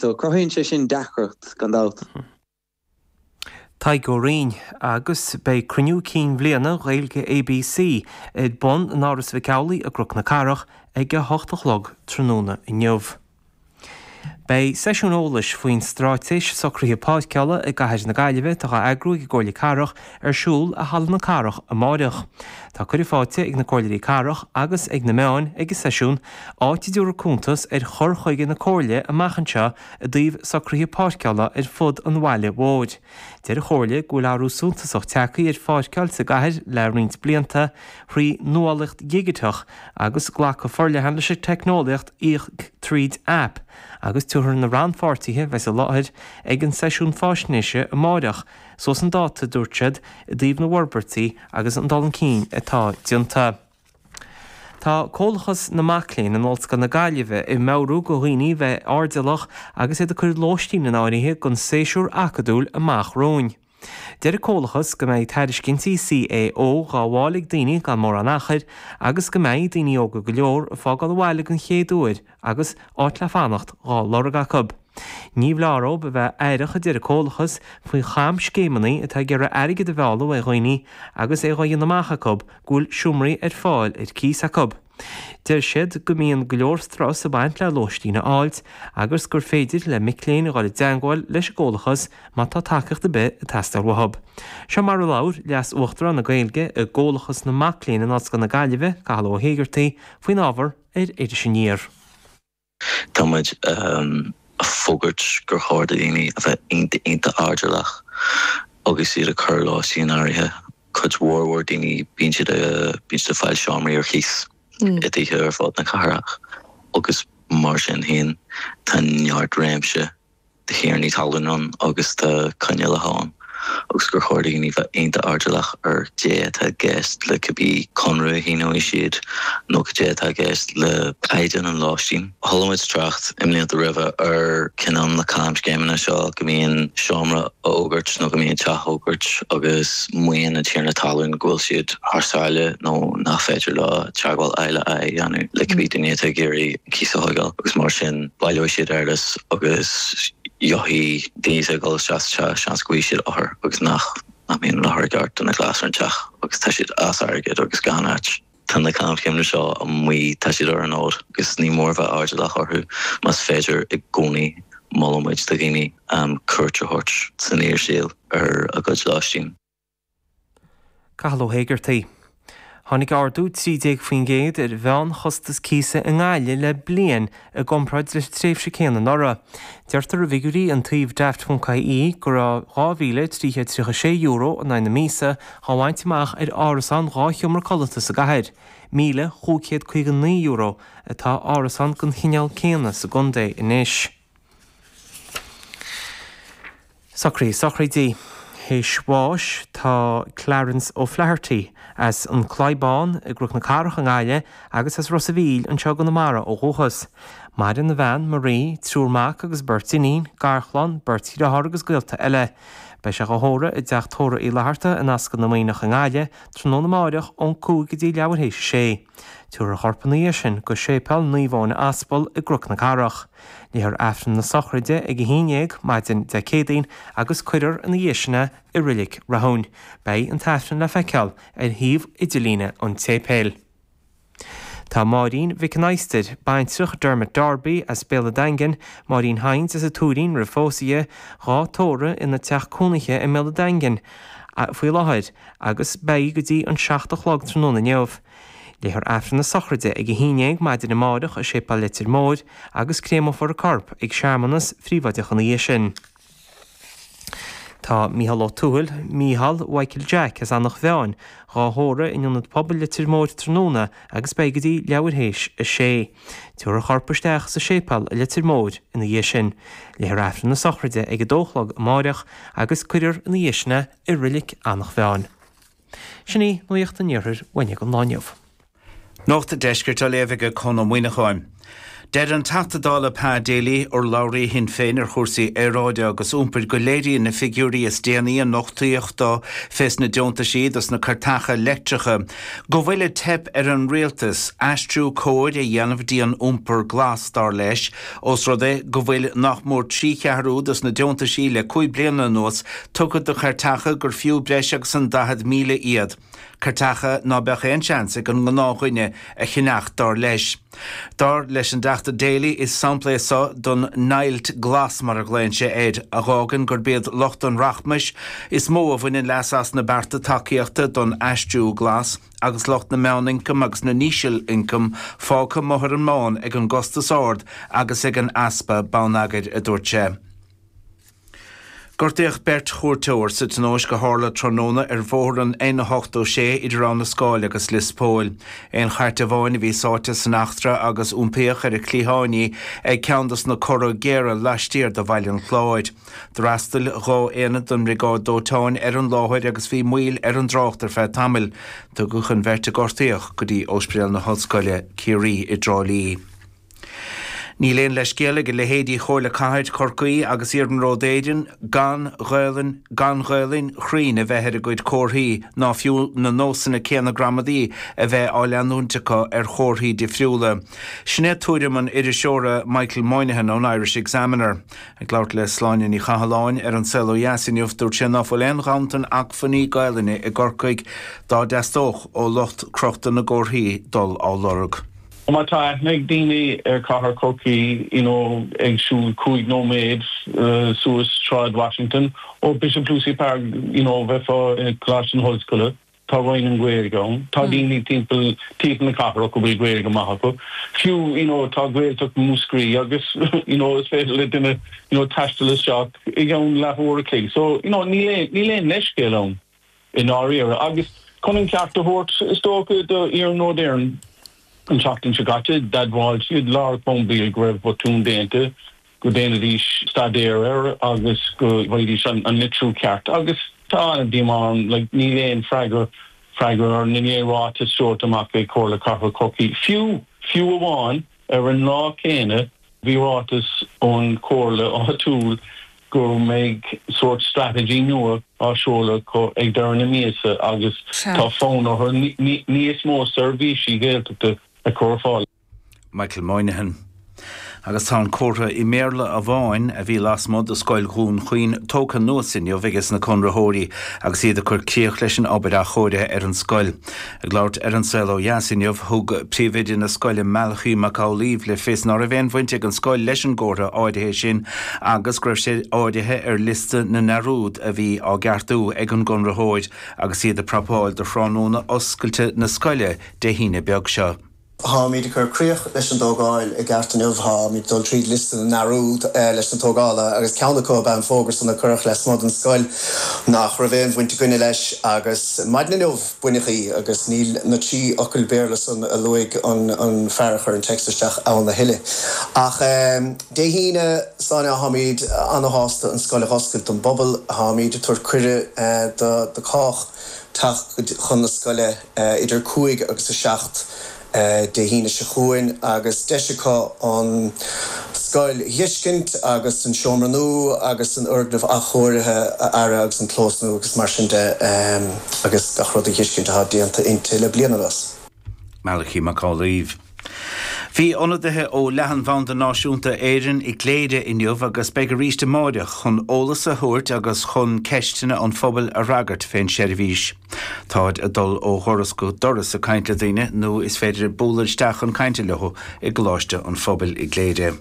So cruthaíonn sé sin deacracht, gan dabht. Tadhg Ó Rinn, Agus beidh cruinniú cinn bhliana Ghaeilge ABC ar bun in Áras Mhic Amhlaigh i gCnoc na Cathrach ag a hocht a chlog tráthnóna inniu. Beidh seisiún eolais faoin Straitéis Socruithe Páirceála i gCathair na Gaillimhe atá á eagrú ag an gComhairle Cathrach ar siúl i Halla na Cathrach amáireach. Tá cuireadh faighte ag na Comhairleoirí Cathrach agus ag na meáin ag an seisiún, áit a dtabharfar cuntas ar chur chuige na Comhairle amach anseo i dtaobh socruithe páirceála ar fud an bhaile mhóir. Deir an Chomhairle go bhfuil athrú suntasach tagtha ar pháirceáil sa gcathair le roinnt blianta, thrí nuálaíocht dhigiteach agus glacadh forleathan leis an teicneolaíocht Íoc Tríd Aip, agus tabharfar na rannpháirtithe a bheas i láthair ag an seisiún faisnéise amáireach suas chun dáta, a dúirt siad, i dtaobh na bhforbairtí agus an dul chun cinn atá déanta. Tá Comhlachas na Mac Léinn in Ollscoil na Gaillimhe ag meabhrú go dhaoine bheith airdeallach agus iad ag cur lóistín in áirithe don séasúr acadúil amach romhainn. Deir an Comhlachas go mbeidh tairiscintí CAO dhá bhfáil ag daoine gan mórán achair agus go mbeidh daoine óga go leor ag fágáil an bhaile den chéad uair agus áit le fanacht dhá lorg acu. Ní foláir dóibh a bheith aireach, a deir an Comhlachas, faoi chamscéimeanna atá ag iarraidh airgead a mhealladh ó dhaoine agus é dhá dhéanamh amach acu go bhfuil seomraí ar fáil ar cíos acu. Deir siad go mbíonn go leor strus ag baint le lóistín a fháilt agus gur féidir le mic léinn a dhul i dteangmháil leis an gComhlachas má tá tacaíocht ar bith ag teastáil uathu. Seo mar a labhair Leas-Uachtarán na Gaeilge i gComhlachas na Mac Léinn in Ollscoil na Gaillimhe, Cathal Ó hÉigeartaigh, faoin ábhar ar Iris Aniar. Tá muid ag fógairt gur chóir do dhaoine a bheith iontach iontach airdeallach agus iad ag cur lóistín in áirithe. Cuid mhór mhór daoine bíonn siad bíonn siad ag fáil seomraí ar cíos i dtithe ar fud na cathrach agus mar sin féin tá neart réimse de thiarnaí talún ann agus tá coinníollacha ann agus gur chóir do dhaoine bheith iontach airdeallach ar caidé atá i gceist le cibé conradh a shíneoidh siad nó caidé atá i gceist le caighdeán an lóistín. Chuala muid trácht i mblianta roimhe ar cineál na camscéimeanna seo go mbíonn seomra á fhógairt nó go mbíonn teach á fhógairt agus maíonn an tiarna talún go bhfuil siad thar sáile nó nach féidir leo teagmháil aghaidh le aghaidh a dhéanamh le cibé duine atá ag iarraidh cíos a thógáil agus mar sin baileoidh siad eolas agus gheobhaidh daoine atá ag dul isteach sa teach seans go bhfaighidh siad othair agus nach nach mbíonn an othar i gceart do na gléasanna ar an teach agus tá siad as airgead agus gan áit. Tá na camscéimeanna seo amuigh, tá siad ar an fhód agus ní mór a bheith airdeallach orthu. Más féidir i gcónaí molann muid do dhaoine cuairt a thabhairt san fhíorshaol ar a gcuid lóistín. Cathal Ó hÉigeartaigh. Tháinig ardú 13% ar mheánchostas cíosa i nGaillimh le bliain i gcomparáid leis an tréimhse céanna anuraidh. Deirtear i bhfigiúirí an tsuímh Daft.ie go raibh €2,336 in aghaidh na míosa á bhaint amach ar árasán dhá sheomra codlata sa gcathair. €1,559 atá árasán den chineál céanna sa gcontae anois. Socruithe sochraide. Théis bháis tá Clarence O'Flaherty as an Claí Bán i gCnoc na Cathrach i nGaillimh agus as Ros a' Mhíl anseo i gConamara ó dhúchas. Maireann a bhean, Marie, triúr mac agus beirt iníon, garchlann, beirt dhriotháir agus gaolta eile. Beidh sé dhá thórramh i dTeach Tórraimh Uí Fhlatharta in Ascaill na Maoineach i nGaillimh tráthnóna amáireach ón 5 go dtí leathuair théis a sé. Tabharfar a chorp ina dhiaidh sin go Séipéal Naomh Eoin Aspal i gCnoc na Cathrach. Léifear Aifreann na sochraide ag 11 maidin Dé Céadaoin agus cuirfear ina dhiaidh sin é i Reilig Rathúin. Beidh an tAifreann le feiceáil ar shuíomh idirlíne an tséipéil. Tá Máirín Mhic an Adhastair, baintreach Dermot Darby as Béal an Daingin, Máirín Hynes as an Tuairín roimh phósadh di, dhá tórramh ina teach cónaithe i mBéal an Daingin faoi láthair agus beidh go dtí an 7 a chlog tráthnóna inniu. Léifear Aifreann na sochraide ag 11 maidin amárach i Séipéal Leitir Móir agus créamófar a corp ag searmanas phríobháideach ina dhiaidh sin. Tá Mícheál Ó Tuathail, Mícheál Mhichael Jack as Eanach Mheáin, dhá thórramh in Ionad Pobail Leitir Móir tráthnóna agus beidh go dtí leathuair théis a sé. Tabharfar a chorp isteach sa séipéal i Leitir Móir ina dhiaidh sin. Léifear Aifreann na sochraide ag a dó a chlog amáireach agus cuirfear ina dhiaidh sin é i Reilig Eanach Mheáin. Sin í Nuacht an Iarthair uainne don lá inniu. Nuacht an Deiscirt á léamh ag Conn Ó Muíneacháin. Deir an Teachta Dála Pa Daly, urlabhraí Shinn Féin ar chúrsaí aeráide agus iompair, go léiríonn na figiúirí is déanaí a nochtaíodh dó fés na deontaisí dos na cairteacha leictreacha go bhfuil ag teip ar an Rialtas aistriú cóir a dhéanamh dtí an iompar glas, dar leis, ós rud é go bhfuil nach mór 3 cheathrú dos na deontaisí le 5 bliana anuas tugtha do chairteacha gur fiú breis agus an 40,000 iad. Cairteacha ná beadh aon seans ag an ngnáthdhuine a cheannacht, dar leis. Dar leis an dTeachta Daly, is sampla é so don ndeighilt glas, mar a ghlaonn sé air, a dh'fhágann gurb iad lucht an rachmais is mó a bhaineann leas as na bearta tacaíochta don aistriú glas agus lucht na meánioncam agus na n-íseal-ioncam fágtha amuigh ar an mbán ag an gcostas ard agus ag an easpa bonneagair, a dúirt sé. Gortaíodh beirt chuairteoir sa tionóisc a tharla tráthnóna ar bhóthar an N86 idir Abha na Scáil agus Lios Póil. Aon chairt amháin a bhí sáite san eachtra agus iompaíodh ar a cliathán í ag ceann dos na cora géara laistiar de Bhaile an Chláir. D'fhreastail 2 aonad den mBriogáid Dóiteáin ar an láthair agus bhí moill ar an dtrácht ar feadh tamaill. Tugadh an bheirt a gortaíodh go dtí Ospidéal na hOllscoile, Ciarraí i dTrá Lí. Níl aon leithscéal ag a leithéidí Chomhairle Cathair Chorcaí agus Iarnród Éireann gan Ghaelainn gan Ghaelainn chruinn a bheith ar a gcuid comharthaí ná fiú na nósanna céanna gramadaí a bheith á leanúint acu ar chomharthaí difriúla. Sin é tuairim an iriseora Michael Moynihan ón Irish Examiner. Ag labhairt le Sláine Ní Chathalláin ar An Saol Ó Dheas inniu, dúirt sé ná fuil aon ghanntan acmhainní Gaelainne i gCorcaigh dá dteastódh ó lucht crochta na gcomharthaí dul á lorg. Má tá aithne ag daoine ar chathair Chorcaí, you know, ag siúl 5 nóiméad suas Sráid Washington ó Bishop Lucy Park, you know, bheifeá i Coláiste na hOllscoile, tá Roinn na Gaeilge ann, tá daoine timpeall timpeall na cathrach a bhfuil Gaeilge maith acu. Fiú, you know, tá Gaeltacht Mhúscraí agus, you know, is féidir le duine, you know, taisteal isteach i gceann leathuair a chloig. So, you know, níl aon, níl aon leithscéal ann. i ndáiríre. Agus chun an ceart a thabhairt, is dócha, do Iarnród Éireann, an tseachtain seo caite, d'admháil siad Lara Colmcille go raibh botún déanta, go ndéanfaidís staidéar air agus go bhfaighidís an litriú ceart. Agus tá an-díomá orm, like, níl aon freagra, freagra níl aon ráiteas seolta amach ag Comhairle Cathrach Chorcaí. Fiú, fiú amháin, ar an lá céanna, Bhí ráiteas ón chomhairle áitiúil go mbeidh sórt strategy nua á seoladh acu ag deireadh na míosa agus tá fonn orthu níos mó seirbhísí Gaeltachta a chur ar fáil. Michael Moynihan. Agus tá an comhartha i mBéarla amháin a bhí lasmuigh de Scoil Dhún Chaoin tógtha anuas inniu ages na conraitheoirí agus iad ag cur críoch leis an obair athchóirithe ar an scoil. Ag labhairt ar An Saol Ó Dheas inniu, thug príomhoide na scoile Malachy Mac Amhlaoibh le fios ná raibh aon bhaint ag an scoil leis an gcomhartha áirithe sin agus go raibh sé áirithe ar liosta na ndearúd a bhí á gceartú ag an gconraitheoir agus iad ag prapáil do thráthnóna oscailte na scoile Dé hAoine beag seo. Táimid ag cur críoch leis an dtógáil i gceart inniu. Táimid ag dul tríd liosta na ndearúd leis na tógála agus ceann acu ab ea an fógra san a cuireadh lasmuigh den scoil nach raibh aon bhaint againne leis agus maidin inniu baineadh í agus níl na 3 fhocal Béarla san a luaigh an fear a chuir an téacs isteach ann a thuilleadh. Ach Dé hAoine, Sláine, táimid ana-shásta an scoil a dh'oscailt don bpobal. Táimid ag tabhairt cuireadh do cách teacht chun na scoile. idir 5 agus 7 Dé hAoine seo chugainn agus deis acu an scoil a dh'fheiscint agus an seomra nua agus an fhoirgneamh athchóirithe a fhaire agus an clós nua agus mar sin de agus gach rud a dh'fheiscint atá déanta inti le bliain anuas. Malachy Mac Amhlaoibh. Bhí ionadaithe ó Leathanbhanda Náisiúnta Éireann i gCléire inniu agus beidh arís amáireach chun eolas a thabhairt agus chun ceisteanna an phobail a fhreagairt fén seirbhís. Táid ag dul ó dhoras go doras ag caint le daoine nó is féidir bualadh isteach chun cainte leo i gColáiste an Phobail i gCléire.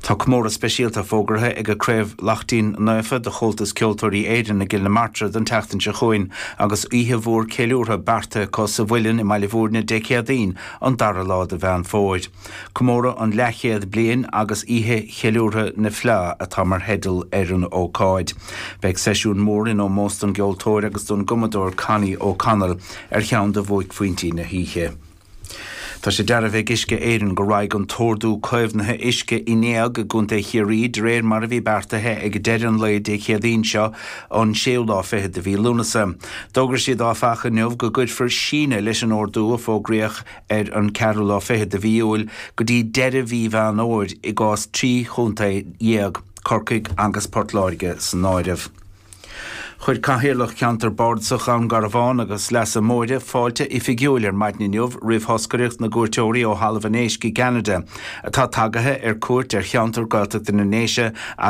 Tá comóradh speisialta fógartha ag Craobh Laichtín Naofa de Chomhaltas Ceoltóirí Éireann i gCill na Martra don tseachtain seo chugainn agus oíche mhór ceiliúrtha beartaithe acu sa Mhuileann i mBaile Bhúirne Dé Céadaoin an dara lá de Mheán Fómhair. Comóradh an leathchéad bliain agus Oíche Cheiliúrtha na Fleá atá mar theideal ar an ócáid. Beidh seisiún mór in ómós don gceoltóir agus don gcumadóir Connie O'Connell ar cheann de bhuaicphointí na hoíche. Tá sé dearbhaithe ag Uisce Éireann go raghaidh an t-ordú caomhnaithe uisce in éag i gContae Chiarraí de réir mar a bhí beartaithe ag deireadh an lae Dé Céadaoin seo, an séú lá fichead de mhí Lúnasa. D'fhógair siad áfach inniu go gcuirfear síneadh leis an ordú a fógraíodh ar an ceathrú lá fichead de mhí Iúil go dtí deireadh mhí Mheán Fhómhair i gcás 13 chontae, Corcaigh agus Port Láirge san áireamh. Chuir Cathaoirleach Cheantar Bardasach Dhún Garbhán agus Leasa Móire fáilte oifigiúil ar maidin inniu roimh thoscaireacht na gcuairteoirí ó Thalamh an Éisc i gCeanada atá tagaithe ar cuairt ar cheantar Gaeltachta na nDéise.